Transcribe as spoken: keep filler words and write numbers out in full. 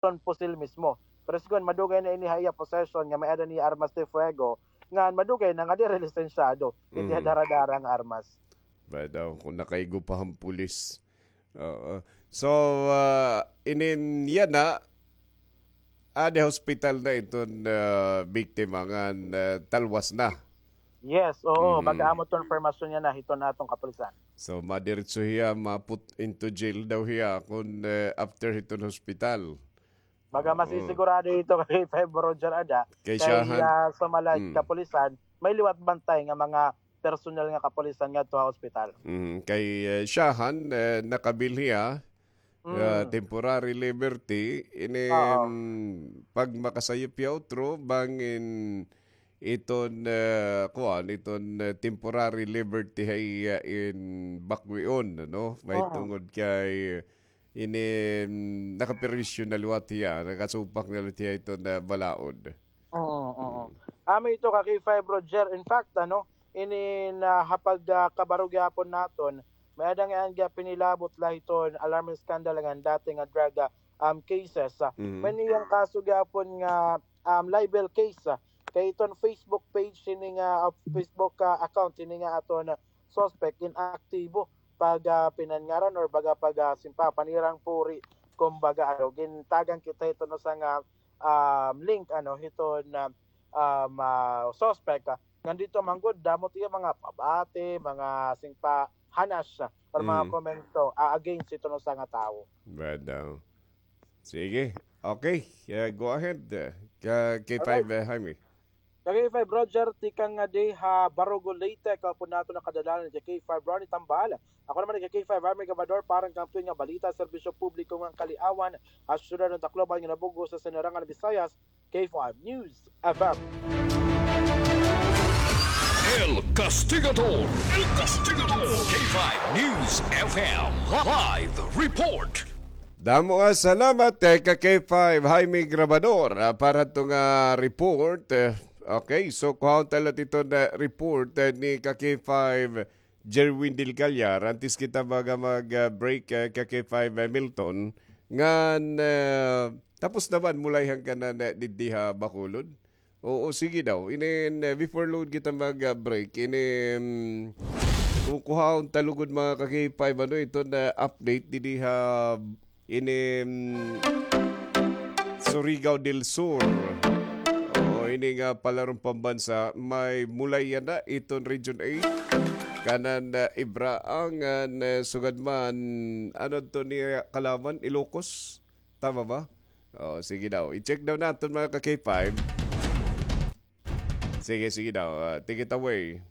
iton pusil mismo. Pero sigon madugay na ini ha iya possession nga may-ada niya armas de fuego, ngan madugay na nga diri lisensyado iti Mhm. daradara nga armas. Ba daw, kung nakaigo pa han pulis. Oo. So, ah, inin yana, ah, di hospital na iton, ah, biktima ngan, ah, talwas na. Yes, oo. Mhm. Baga amo iton impormasyon yana hiton aton kapulisan. So, madiretso hiya, ma-put into jail daw hiya kun, eh, after hiton hospital. Baga Oo. masisigurado ito kay five Roger ada. Kay Kay, siyahan. ah, sa mga Mm. kapulisan, may liwat bantay nga mga personal nga kapulisan ngadto ha ospital. Mm, kay, eh, siyahan, eh, nakabil hiya, ah, Mm. temporary liberty, inin Oo. pag makasayop hiya utro, bangin iton, eh, kuan, iton, eh, temporary liberty hay, ah, in bakwion, no? May Oo. tungod kay inin nakaperwisyo na liwat hiya, nakasupak na liwat hiya iton, ah, balaod. Oo, oo. Mm. Amo ito ka K five Roger. In fact, ano, inin, ah, ha pag, ah, kabaro gihapon naton, may-ada nga iya pinilabot la hiton alarming scandal nga dati nga drug, ah, um, cases. Ah, Mhm. may niyang kaso gihapon nga, um, libel case, ah. Kay iton Facebook page ini nga, ah, Facebook, ah, account ini nga aton, ah, suspect inaktibo pag, ah, pinanngaran or baga pag, ah, simpa, panirang puri, kumbaga, ano, gintagan kita hiton usa nga, um, link, ano, hiton, ah, um, ah, suspect, ah, ngan didto man gud, damo it iya mga pabati, mga simpa, hanas, ah, or mga Mm. komento, ah, against hiton usa nga tawo. Bad daw. Sige. Okay. Yeah, go ahead, uh, ka K five, Alright. uh, Jaime. Ka K five Roger, tikang nga di ha Barugo, Leyte, ako po nato nakadalanan ni K five Ronnie Tambal. Ako naman ni K five Jaime Gabador para kan tuwing nga balita, serbisyo publiko ngan kaliawan ha syudad ngan Tacloban ngan Nabogo sa Sinirangan Visayas, K five News F M. El Castigador. El Castigador. K five News F M. Live report. Damo nga salamat, eh, ka K five Jaime Grabador, ah, para to nga report. Eh, okay, so kuhaon ta la iton, eh, report, eh, ni ka K five Jerwin Del Callar. Antes kita baga mag, ah, break, eh, ka K five, eh, Milton. Ngan, eh, tapos naman, mulay hangkanan, eh, diddi ha Bacolod. Oo, sige daw. Inin, eh, before lugod kita mag, ah, break, inin, kukuhaon ta lugod mga ka-K five, ano, iton, ah, update didi ha, inin, Surigao del Sur. Oo, ini nga palaron pambansa, may mulay yana iton Region eight. Kanan, ah, Ibraang, ngan, ah, sugad man, ano to ni kalaman, Ilocos? Tama ba? Oh, sige daw. I-check daw naton, mga ka-K five. Sige, sige daw. Ah, take it away.